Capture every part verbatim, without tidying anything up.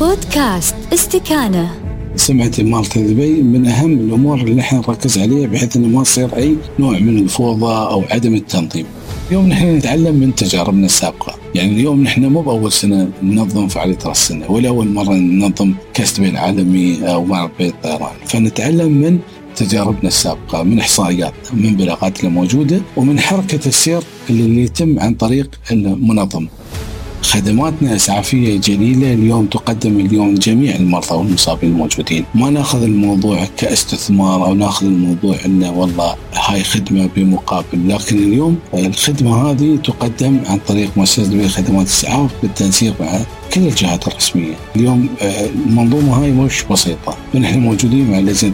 بودكاست استكانة. سمعة مالت دبي من أهم الأمور اللي نحن نركز عليها بحيث أنه ما يصير أي نوع من الفوضى أو عدم التنظيم. اليوم نحن نتعلم من تجاربنا السابقة، يعني اليوم نحن مو بأول سنة ننظم فعالية رأس السنة ولا أول مرة ننظم كأس دبي العالمي أو معرض بيت الطيران، فنتعلم من تجاربنا السابقة، من إحصائيات، من بلاغات الموجودة، ومن حركة السير اللي يتم عن طريق المنظمة. خدماتنا إسعافية جليلة اليوم تقدم اليوم جميع المرضى والمصابين الموجودين. ما ناخذ الموضوع كاستثمار أو ناخذ الموضوع إنه والله هاي خدمة بمقابل، لكن اليوم الخدمة هذه تقدم عن طريق مؤسسة دبي خدمات الإسعاف بالتنسيق مع كل الجهات الرسمية. اليوم المنظومة هاي مش بسيطة، ونحن موجودين مع لجنة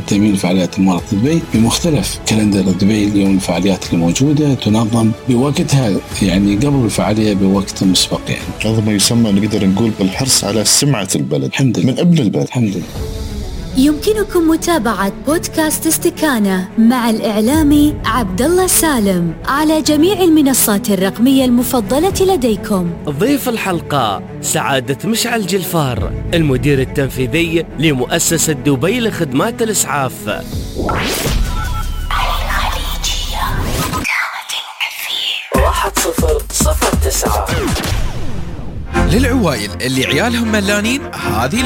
تأمين فعاليات المرض دبي بمختلف كالندر دبي. اليوم الفعاليات الموجودة تنظم بوقتها، يعني قبل الفعالية بوقت مسبق. يعني هذا ما يسمى نقدر نقول بالحرص على سمعة البلد الحمد لله. من ابن البلد. الحمد لله. يمكنكم متابعة بودكاست استكانة مع الإعلامي عبد الله سالم على جميع المنصات الرقمية المفضلة لديكم. ضيف الحلقة سعادة مشعل جلفار، المدير التنفيذي لمؤسسة دبي لخدمات الإسعاف. واحد صفر صفر تسعة للعوائل اللي عيالهم ملانين، هذه